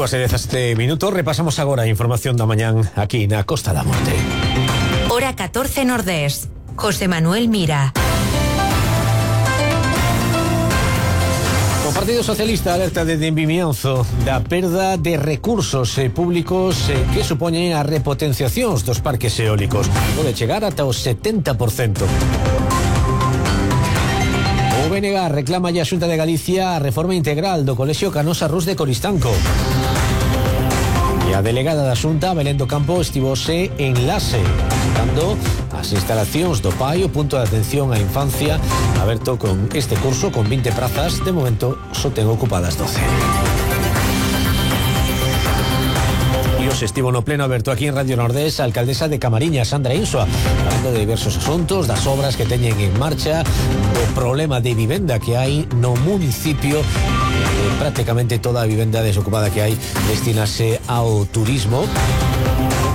2:17, repasamos agora a información da mañán aquí na Costa da Morte. Hora 14 Nordés. José Manuel Mira. O Partido Socialista alerta desde Vimianzo da perda de recursos públicos que supoñen a repotenciacións dos parques eólicos. Pode chegar ata o 70%. O BNG reclama a Xunta de Galicia a reforma integral do Colexio Canosa Rus de Coristanco. E a delegada da Xunta, Belén do Campo, estivose en Lase, dando as instalacións do PAI, o punto de atención á infancia, aberto con este curso con 20 prazas. De momento só ten ocupadas 12. E os estivo no pleno aberto aquí en Radio Nordés a alcaldesa de Camariñas, Sandra Insua, falando de diversos asuntos, das obras que teñen en marcha, do problema de vivenda que hai no municipio. Prácticamente toda a vivenda desocupada que hai destinase ao turismo,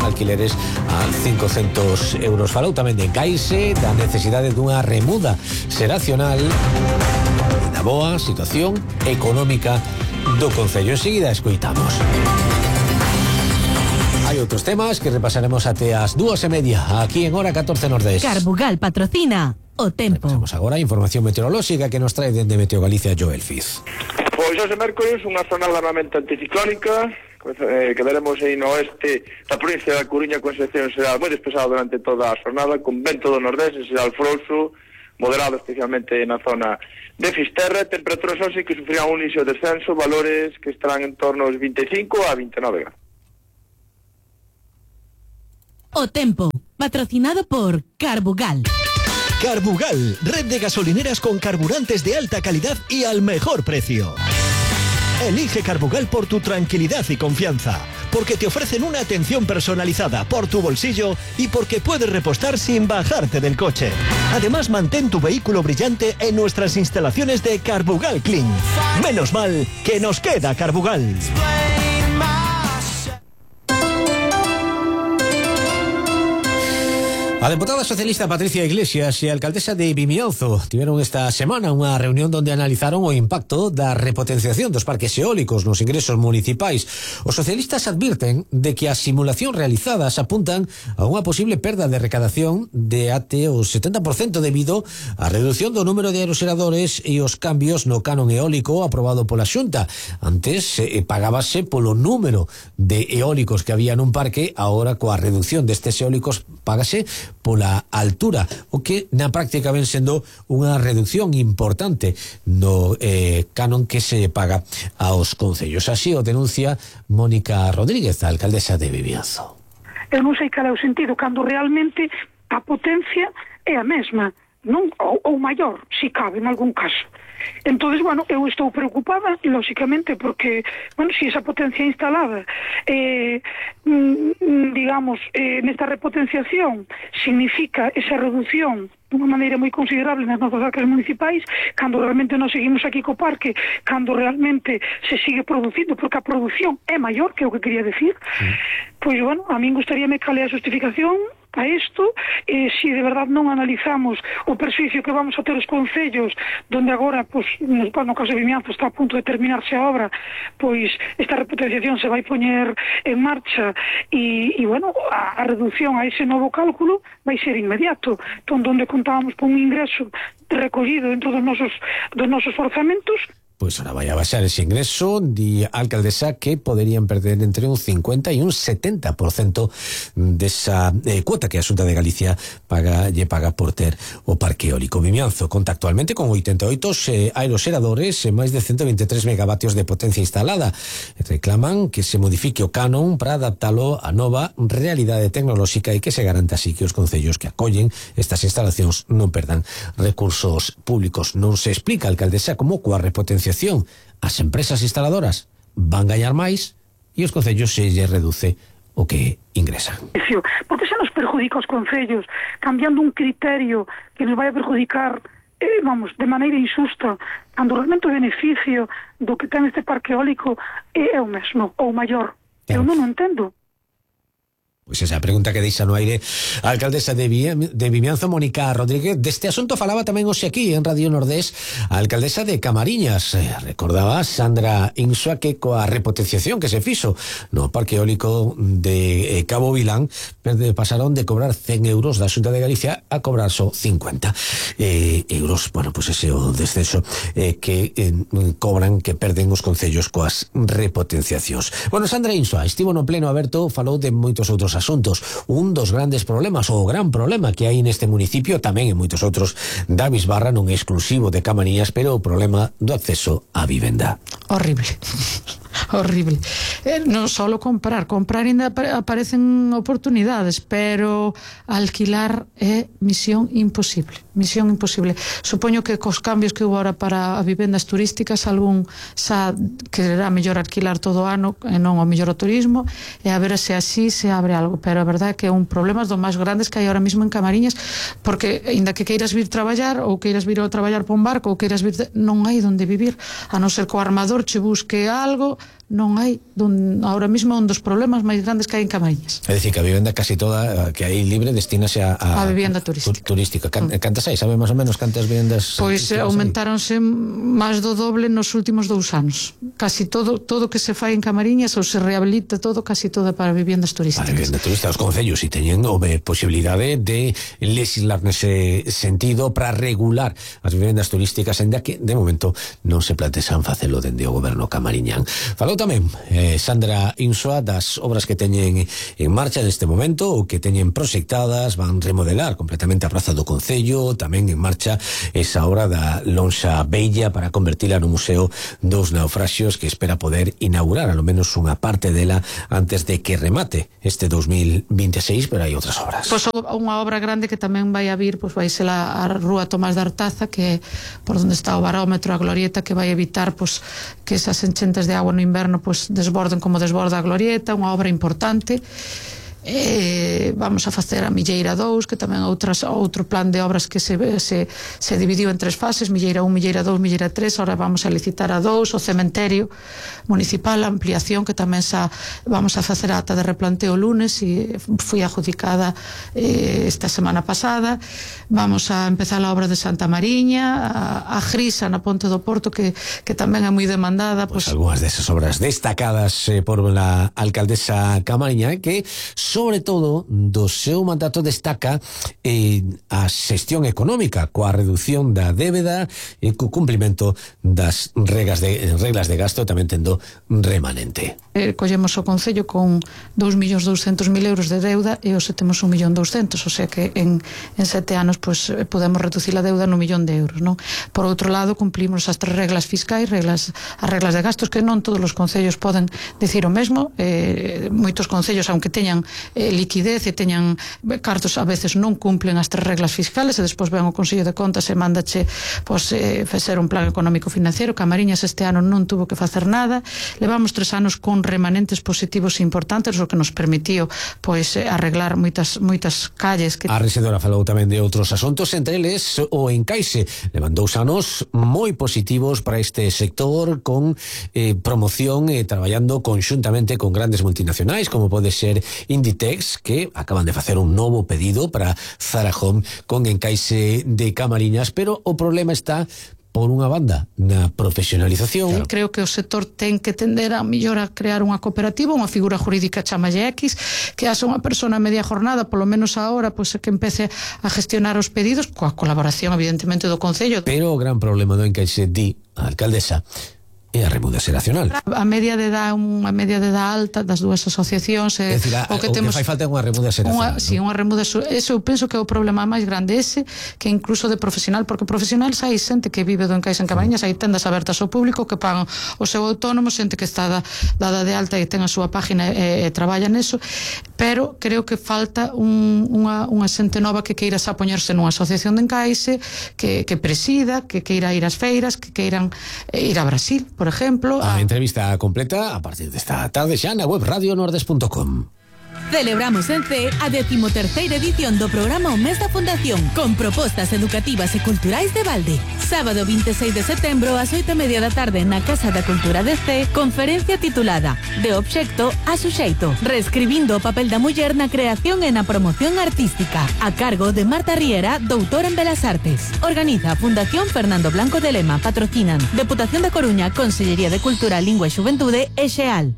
alquileres a 500 euros. Falou tamén de encaixe, da necesidade dunha remuda xeracional e da boa situación económica do concello. Enseguida escoitamos. Hai outros temas que repasaremos até as 2:30 aquí en Hora 14 Nordés. Carbugal patrocina o tempo. Repasamos agora a información meteorolóxica que nos trae dende Meteo Galicia Joel Fiz. Pois hoxe mércores unha zona largamente anticiclónica que veremos aí no oeste da provincia da Coruña, con excepción será moi despexado durante toda a jornada, con vento do nordés e será alfrouxo, moderado especialmente na zona de Fisterra. Temperaturas hoxe que sufrirán un inicio de descenso, valores que estarán en torno aos 25 a 29 grados. O tempo, patrocinado por Carbugal. Carbugal, red de gasolineras con carburantes de alta calidad y al mejor precio. Elige Carbugal por tu tranquilidad y confianza, porque te ofrecen una atención personalizada por tu bolsillo y porque puedes repostar sin bajarte del coche. Además, mantén tu vehículo brillante en nuestras instalaciones de Carbugal Clean. Menos mal que nos queda Carbugal. A deputada socialista Patricia Iglesias e a alcaldesa de Vimianzo tiveron esta semana unha reunión onde analizaron o impacto da repotenciación dos parques eólicos nos ingresos municipais. Os socialistas advirten de que as simulacións realizadas apuntan a unha posible perda de recadación de até o 70% debido á reducción do número de aeroxeradores e os cambios no canon eólico aprobado pola Xunta. Antes pagábase polo número de eólicos que había nun parque, agora coa reducción destes eólicos págase pola altura, o que na práctica ven sendo unha reducción importante no canon que se paga aos concellos. Así o denuncia Mónica Rodríguez, a alcaldesa de Vimianzo. Eu non sei cal é o sentido cando realmente a potencia é a mesma, non ou maior, se cabe en algún caso. Entonces, bueno, eu estou preocupada, lógicamente, porque, bueno, si esa potencia instalada, digamos, nesta repotenciación, significa esa reducción dunha maneira moi considerable nas nosas arcas municipais, cando realmente nos seguimos aquí co parque, cando realmente se sigue producindo, porque a produción é maior, que é o que quería decir, pois, bueno, a min gustaríame cal é a justificación a isto, se de verdade non analizamos o perjuízo que vamos a ter os concellos, donde agora, pois, no caso de Vimianzo está a punto de terminarse a obra, pois esta repotenciación se vai poñer en marcha e bueno, a reducción a ese novo cálculo vai ser inmediato. Entón, donde contábamos con un ingreso recollido dentro dos nosos orzamentos, Pois ahora vai a baixar ese ingreso, di a alcaldesa que poderían perder entre un 50 e un 70% desa cuota que a Xunta de Galicia paga por ter o parque eólico. Vimianzo conta actualmente con 88 aeroxeradores e máis de 123 megavatios de potencia instalada. Reclaman que se modifique o canon para adaptalo á nova realidade tecnolóxica e que se garanta así que os concellos que acollen estas instalacións non perdan recursos públicos. Non se explica a alcaldesa como coa repotenciación as empresas instaladoras van gañar máis e os concellos se lle reduce o que ingresan. Porque se nos perjudica os concellos cambiando un criterio que nos vai a perjudicar de maneira injusta, cando realmente o beneficio do que ten este parque eólico é o mesmo, ou maior. Eu non o entendo. Pois esa pregunta que deixa no aire a alcaldesa de Vimianzo, Mónica Rodríguez. Deste asunto falaba tamén hoxe aquí en Radio Nordés a alcaldesa de Camariñas. Recordaba Sandra Insua que coa repotenciación que se fixo no parque eólico de Cabo Vilán pasaron de cobrar 100 euros da Xunta de Galicia a cobrar só 50 euros. Bueno, pois ese o descenso que cobran, que perden os concellos coas repotenciacións. Bueno, Sandra Insua estivo no pleno aberto, falou de moitos outros asuntos. Un dos grandes problemas, ou o gran problema que hai neste municipio, tamén en moitos outros da Bisbarra, non é exclusivo de Camariñas, pero o problema do acceso á vivenda. Horrible. Horrible. Non só comprar ainda aparecen oportunidades, pero alquilar é misión imposible. Supoño que cos cambios que hubo ahora para as vivendas turísticas, algún xa quererá mellor alquilar todo o ano e non o mellor o turismo, e a ver se así se abre algo, pero a verdade é que é un problema dos máis grandes que hai ahora mismo en Camariñas, porque ainda que queiras vir traballar ou queiras vir a traballar por un barco ou queiras vir, non hai onde vivir, a non ser que o armador che busque algo, non hai, ahora mismo é un dos problemas máis grandes que hai en Camariñas. É dicir, que a vivenda casi toda que hai libre destínase a vivenda turística. Cantas hai? Sabe máis ou menos cantas vivendas? Pois aumentáronse máis do doble nos últimos 2 anos. Casi todo que se fai en Camariñas ou se rehabilita todo, casi todo para vivendas turísticas. Para vivendas turísticas, os concellos si teñen posibilidade de legislar nese sentido para regular as vivendas turísticas, ainda que de momento non se plantexan facelo dende o goberno camariñán. Falou tamén Sandra Insua das obras que teñen en marcha neste momento ou que teñen proxectadas. Van remodelar completamente a praza do Concello, tamén en marcha esa obra da Lonxa Bella para convertila no Museo dos Naufraxios, que espera poder inaugurar ao menos unha parte dela antes de que remate este 2026, pero hai outras obras. Pois unha obra grande que tamén vai a vir, pois vai ser a Rúa Tomás de Artaza, que é por onde está o barómetro, a glorieta, que vai evitar pois que esas enchentes de agua no inverno pois desborden como desborda a glorieta. Unha obra importante. Vamos a facer a Milleira 2, que tamén outro plan de obras que se dividiu en 3 fases: Milleira 1, Milleira 2, Milleira 3. Ahora vamos a licitar a 2, o cementerio municipal, a ampliación, que tamén vamos a facer a ata de replanteo o lunes e foi adjudicada esta semana pasada. Vamos a empezar a obra de Santa Mariña, a Grisa na Ponte do Porto, que tamén é moi demandada. Pois algunhas desas obras destacadas por la alcaldesa camariña, que sobre todo do seu mandato destaca a xestión económica, coa reducción da débeda e co cumprimento das reglas de gasto, tamén tendo remanente. Collemos o Concello con 2.200.000 euros de deuda e hoxe temos 1.200.000, o sea que en 7 anos pues, podemos reducir a deuda no 1.000.000 de euros, non? Por outro lado, cumplimos as 3 reglas fiscais, as reglas de gastos, que non todos os concellos poden decir o mesmo. Moitos concellos, aunque teñan liquidez e teñan cartos, a veces non cumplen as 3 reglas fiscales, e despois ven o Consello de Contas e mándache facer un plan económico financiero. Camariñas este ano non tuvo que facer nada. Levamos 3 anos con remanentes positivos importantes, o que nos permitiu arreglar moitas calles que... A rexedora falou tamén de outros asuntos, entre eles o encaixe. Levan 2 anos moi positivos para este sector, con promoción e traballando conxuntamente con grandes multinacionais como pode ser Inditex, que acaban de facer un novo pedido para Zara Home con encaixe de Camariñas, pero o problema está por unha banda na profesionalización. Creo que o sector ten que tender a mellor a crear unha cooperativa, unha figura jurídica chamalle X, que haxa unha persona a media jornada, polo menos agora, pois que empece a gestionar os pedidos coa colaboración evidentemente do Concello. Pero o gran problema do encaixe, di a alcaldesa, e a remuda xeracional. A media de edad, unha media de edad alta das dúas asociacións, é dicir, o que fai falta é unha remuda xeracional. Si, unha remuda, eso eu penso que é o problema máis grande ese, que incluso de profesional, porque profesional hai xente que vive do encaixe en Camariñas, hai tendas abertas ao público que pagan o seu autónomo, xente que está dada de alta e ten a súa página e traballa neso, pero creo que falta unha xente nova que queira xa poñerse nunha asociación de encaixe, que presida, que queira ir ás feiras, que queiran ir a Brasil, por exemplo. A entrevista completa a partir desta tarde xa na web radionordes.com. Celebramos en C a 13ª edición do programa O Mes da Fundación, con propostas educativas e culturais de balde. Sábado 26 de setembro ás 8:30 da tarde na Casa da Cultura de C, conferencia titulada De obxecto a suxeito, reescribindo o papel da muller na creación e na promoción artística, a cargo de Marta Riera, doutora en Belas Artes. Organiza a Fundación Fernando Blanco de Lema. Patrocinan Deputación da Coruña, Consellería de Cultura, Lingua e Xuventude e Xeal.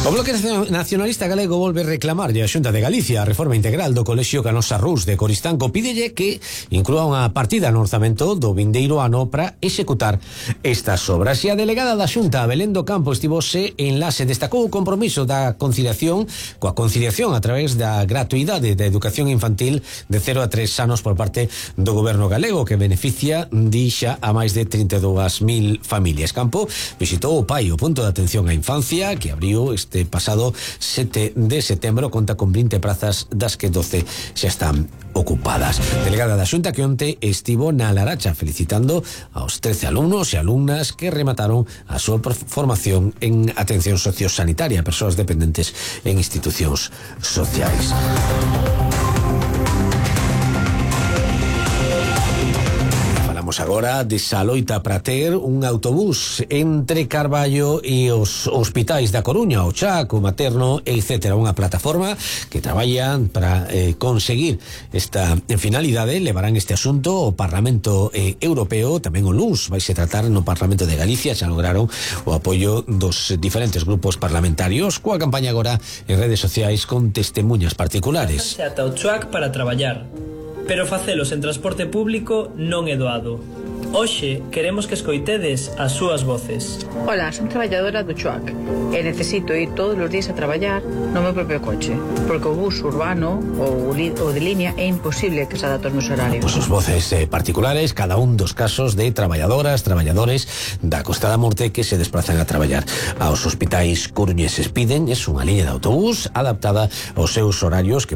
O Bloque Nacionalista Galego volve reclamarlle a Xunta de Galicia a reforma integral do Colexio Canosa Rus de Coristanco. Pídelle que inclúa unha partida no orzamento do vindeiro ano para executar estas obras. E a delegada da Xunta, Belén do Campo, estivose en Lase, destacou o compromiso da conciliación coa conciliación a través da gratuidade da educación infantil de 0 a 3 anos por parte do goberno galego, que beneficia, dixa, a máis de 32.000 familias. Campo visitou o PAI, o punto de atención á infancia, que abriu este pasado 7 de setembro, conta con 20 prazas, das que 12 xa están ocupadas. Delegada da Xunta que onte estivo na Laracha felicitando aos 13 alumnos e alumnas que remataron a súa formación en atención sociosanitaria a persoas dependentes en institucións sociais. Agora de Saloita para ter un autobús entre Carballo e os hospitais da Coruña, o Chaco, o Materno, etc. Unha plataforma que traballa para conseguir esta finalidade. Levarán este asunto ao Parlamento Europeo, tamén o luns vai se tratar no Parlamento de Galicia. Xa lograron o apoio dos diferentes grupos parlamentarios, coa campaña agora en redes sociais con testemunhas particulares. Ata o Chuac para traballar, pero facelos en transporte público non é doado. Hoxe queremos que escoitedes as súas voces. Ola, son traballadora do Chuac e necesito ir todos os días a traballar no meu propio coche, porque o bus urbano ou de línea é imposible que se adapte aos meus horarios. Pois os voces particulares, cada un dos casos de traballadoras, traballadores da Costa da Morte que se desplazan a traballar aos hospitais coruñeses. Piden unha liña de autobús adaptada aos seus horarios, que